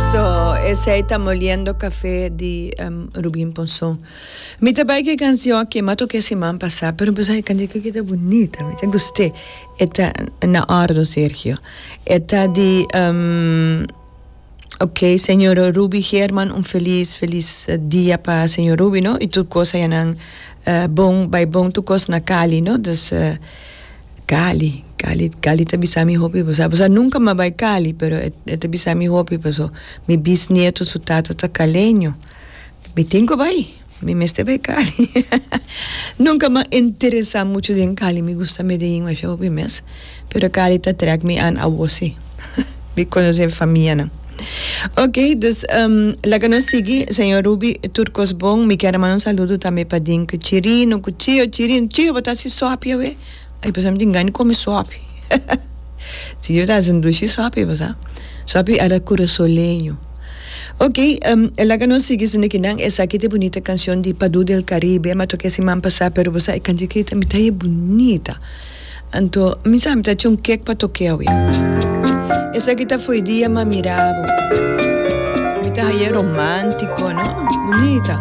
Eso, esey ta Moliendo Café di Rubin Ponson. Mi ta bai ku e kansion aki, mi a toka e siman pasá, pero mi pensa e kantika aki ta bunita, mi ta gust'é. E ta na òrdu, Sergio. E ta di Ok, señor Ruby Geerman, un felis, felis dia pa señor Ruby, no? I tur kos ayanan bon, bai bon tur kos na Cali, no? Dus Cali, Cali, Cali ta bisa mi hopi, bo sa, bo sa nunka mi a bai Cali, pero e ta bisa mi hopi paso mi bisnieto su tata ta caleño. Mi tin ku bai, mi mester bai Cali. Nunka mi a interesa muchu den Cali, mi gusta Medellin masha hopi mes, pero Cali ta trek mi an awo si. Mi konosé famianan. Ok, dus laga nos sigui, señor Ruby, tur kos bon. Mi kier a manda un saludo tambe pa Dinke Chirino ku Chio Chirino. Chio, bo ta hasi sòpi awe? Ay, pasobra mi tin gana di kome sòpi. Chio ta hasi un dushi sòpi, bo sa. Sòpi a la kurasoleño. Ok, laga nos sigui esaki kinan. Esaki ta e bunita kanshon di Padu del Caribe. Mi a toka e siman pasá, pero bo sa e kantika ei ta mi ta haña bunita. Anto mi sa mi ta haci un kek pa toke awe. Esaki ta fo'i dia m'a mira bo. Mi ta haye romantico, no? Bunita.